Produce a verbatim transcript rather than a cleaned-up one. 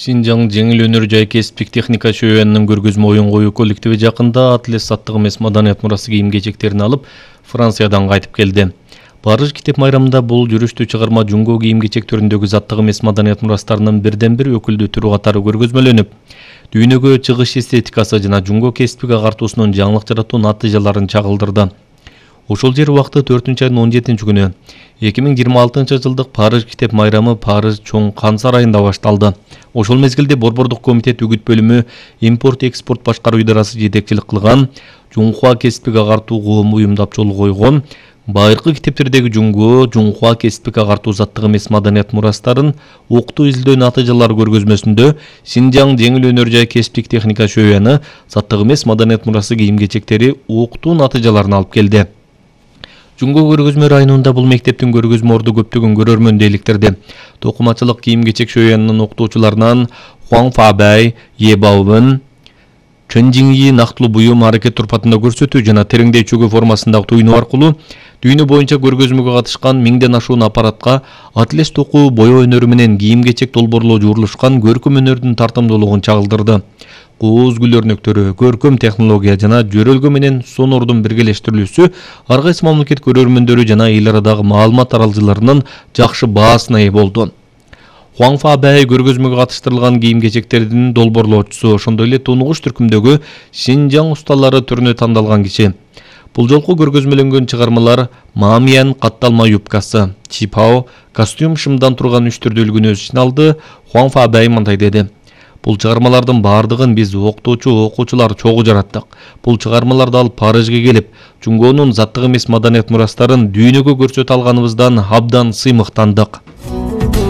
Синжаң жеңил өнөр жай кесиптик техника шөөнүнүн көргөзмө оюн коюу коллективи жакында атлет саттык эмес маданият мурасы кийим-кечектерин алып Франциядан кайтып келди. Париж китеп майрамында бул жүрүштүү чыгарма жуңго кийим-кечек түрүндөгү заттык эмес маданият мурастарынын бирден бир өкүлдүү түрү катары көргөзмөлөнүп, дүйнөгө чыгыш эстетикасы жана жуңго кесиптик агартуусунун жаңылык жаратуу натыйжаларын чагылдырды. Ошол жер убакыты төртүнчү айдын он жетинчи күнү эки миң жыйырма алтынчы жылдык Париж китеп майрамы Париж чоң кан сарайында башталды. Ошол мезгилде Борбордук комитет үгүт бөлүмү импорт-экспорт башкаруу идарасы жетекчилик кылган Жунхуа кесиптик агартуу коому уюмдап жол койгон байыркы китептердеги жуңго Жунхуа кесиптик агартуу заттык эмес маданият мурастарын уктуу изилдөө натыйжалары көргөзмөсүндө Синжаң жеңил өнөр жай кесиптик техника шөөнү заттык эмес маданият мурасы кийим-кечектери уктуу натыйжаларын алып келди. Жуңго көргөзмө районунда бул мектептин көргөзмө орду көптөгөн көрөрмөн дейликтерди. Токумачылык кийим-кечек шөөнүнүн окутуучуларынан Хуаң Фабай, Е Баобын, Чөнжиңи нактылуу буюм аракет турпатында көрсөтүү жана тереңдей чөгүү формасындагы туйноо аркылуу дүйнө боюнча көргөзмөгө катышкан миңден ашуун аппаратка атлес токуу бояоо өнөрү менен кийим-кечек долбоорлоо жуурулушкан көркөм өнөрдүн тартымдуулугун чагылдырды. Кооз гүл өрнөктөрү, көркөм технология жана жөрөлгө менен сонордун биргелештирилүүсү ар кайсы мамлекет көрөрмөндөрү жана эл арадагы маалымат таралгычыларынын жакшы баасына ээ болду. Хуаң Фабай көргөзмөгө катыштырылган кийим-кечектердин долбоорлоочусу, ошондой эле тунугуш түркүмдөгү Синжаң усталары түрүнө тандалган киши. Бул жолку көргөзмөлөнгөн чыгармалар Мамиян катталма юбкасы, Чипао костюм шымдан турган үч түрдүү үлгүнү өз ичине алды. Хуаң Фабай мындай деди: Бул чыгармалардын бардыгын биз окутуучу окуучулар чогуу жараттык. Бул чыгармаларды алып Парижге келип, жуңгонун заттык эмес маданият мурастарын дүйнөгө көрсөтө алганыбыздан абдан сыймыктандык.